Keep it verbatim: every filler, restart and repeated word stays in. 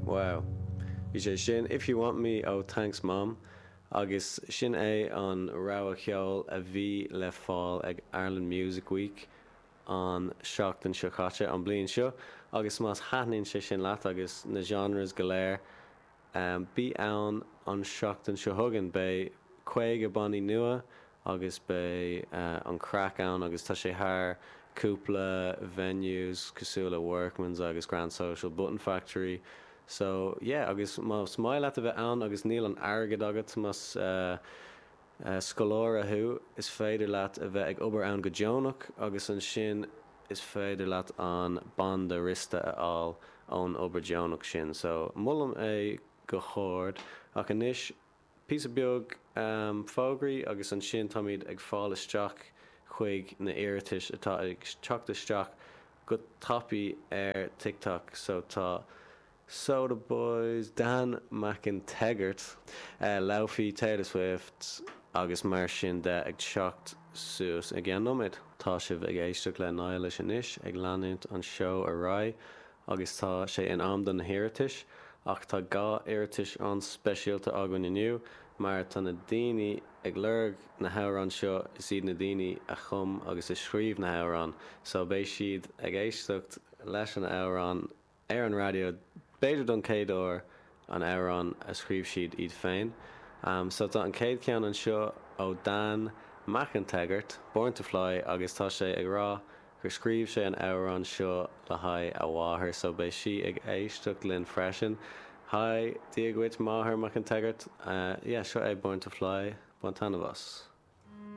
Wow. Bhí sé sin If You Want Me ó Thanks Mom agus sin é an rogha cheoil a bhí le fáil ag Ireland Music Week an seachtain seo caite an bliain seo agus más thaitníonn sé sin leat agus na genres go léir um, bí ann an seachtain seo chugainn beidh caoga bannaí nua agus beidh uh, an craic ann agus tá sé thar cúpla venues cosúil le Workman's agus Grand Social Button Factory. So yeah, agus más maith leat a bheith ann agus níl an airgead agat más uh, uh, scoláire thú is féidir leat a bheith ag obair ann go deonach agus ansin is féidir leat an banda wriosta a fháil ón obair deonach sin. So molaim é go hard ach anois píosa beag um, fógraí agus ansin táimid ag fáil isteach chuig na hiarratais atá ag teacht isteach go tapaidh ar TikTok so tá Soda Boys, Dan McInteggart, uh, Laufey Taylor Swift agus mar sin de ag teacht suas i gceann nóiméad. Tá sibh ag éisteacht le Niallais anois ag leanúint an seó ar aghaidh agus tá sé in am don na hiarratais ach tá dhá iarratas an-speisialta againn inniu mar tá na daoine ag lorg na hamhráin seo is iad na daoine a chum agus a scríobh na hamhráin, so beidh siad ag éisteacht leis an amhrán ar an raidió b'fhéidir don chéad uair an amhrán a scríobh siad iad féin. Um, so tá an chéad cheann anseo ó Dan McInteggart, Born to Fly agus tá sé ag rá gur scríobh sé an amhrán seo le haghaidh a mháthair, so beidh sí ag éisteacht linn freisin. Hi, Dia duit máthair McInteggart. Uh, yeah, seo é Born to Fly, bain taitneamh as.